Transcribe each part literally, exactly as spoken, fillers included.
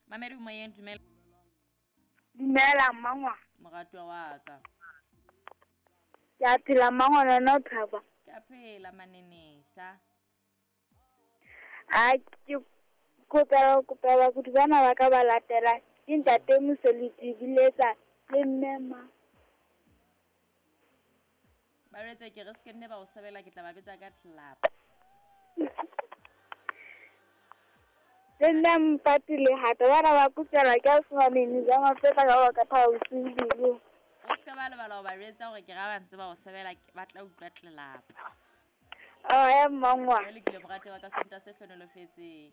Mamedi moyeng, dumela. Dumela mmangwana. Moratuwa wa ka. Ke a phela mmangwana, wena o thaba? Ke a phela manenesa. A ke kopela kopela bakudi bana ba ka ba latela ke ntate Moseliti biletsa le mme ma. Ba jwetse ke re se ke nne ba o sebela, ke tla ba betsa ka tlelapa. Le nna mpati le hata bana ba kopela ke a fumaneng ja mafeta ka ba ka thaba bosiu bo. O se ka ba lebala ho ba jwetsa hore ke ra ba ntse ba o sebela, ba tla utlwa tlelapa. Oh, ya mmangwana. Jwale ke ile moratuwa wa ka Sontaha se hlohonolofetseng.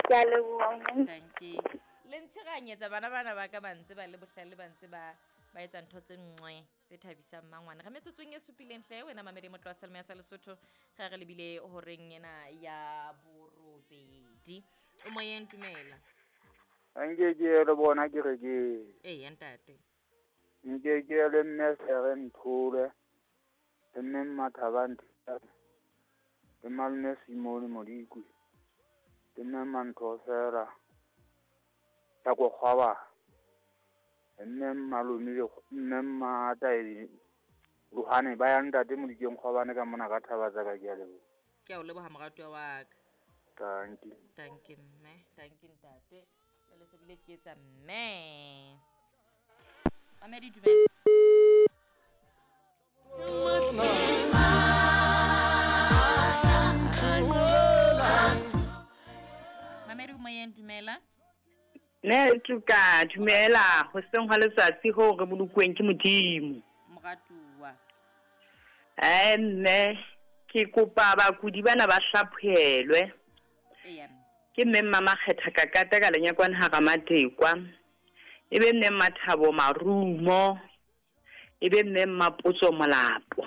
Ke a leboha. Thank you. Le ntshiranyetsa bana bana ba ka ba ntse ba le bohlale, ba ntse ba ba etsa ntho tse nngwe tse thabisang mmangwana. Re metsotsong e supileng hle wena mamedi motlo wa Selemo ya sa Lesotho, ge re lebile horeng ena ya borobedi. O moyeng, dumela. Nke ke le bona ke re ke. Ee, ntate. Nke ke le mme Sere Nthole, le mme Mmathaba Nthole, le malome Simone Modikwe, le mme Mantho Fela, ya ko kgwaba, le mme Malome le mme Mmataedi Lohane ba ya ntate Modikeng Kgwabane ka mona ka thaba tsa ka, ke a leboha. Ke a o leboha moratuwa wa ka. Thank you. Thank you mme, thank you ntate. Jwale se bile ke etsa mme. Mamedi dumela. Mamedi moyeng, dumela. Ne tuka dumela hoseng hwa letsatsi ho re bolokuweng ke Modimo. Moratuwa. Eh mme ke kopa bakudi bana ba hlaphohelwe. Eya. Ke mme Mama Kgetha Kakata ka lenyakwane ha Ramatekwa. E be mme Mathabo Marumo. E be mme Mapotso Molapo.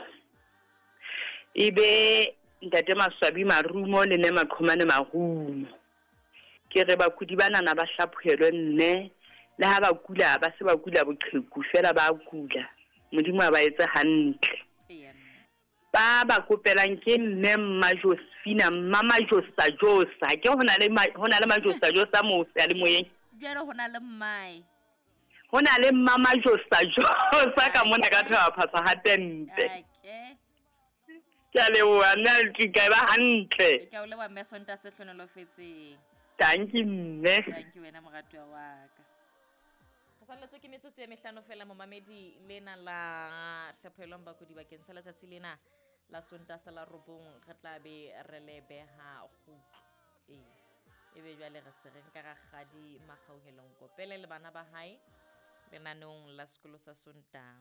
E be ntate Maswabi Marumo le mme Maqhomane Marumo. Ke re bakudi bana ba hlaphohelwe mme le ha ba kula ba se ba kula boqheku fela ba kula. Modimo a ba etse hantle. Eya. Ba ba kopelang ke mme Mma Josephina, Mma Majosa Josa. Ke hona le hona le Majosa Josa mo se le moyeng. Jwale hona le mmae. Hona le Mma Majosa Josa ka mona ka thaba phasa ha tente. Okay. Ke a leboha mme ke ka ba hantle. Ke a o leboha mme Sontaha se hlohonolofetseng. Thank you mme. Thank you wena moratuwa wa ka. Re salletswe ke metsotso e mehlano fela momamedi lena la hlaphohelwang bakudi bakeng sa letsatsi lena la Sontaha la robong, re tla be re le beha kgutlo. Ee, ebe jwale re se re nka rakgadi Makgauhelong Kopele le bana ba hae lenaneong la sekolo sa Sontaha.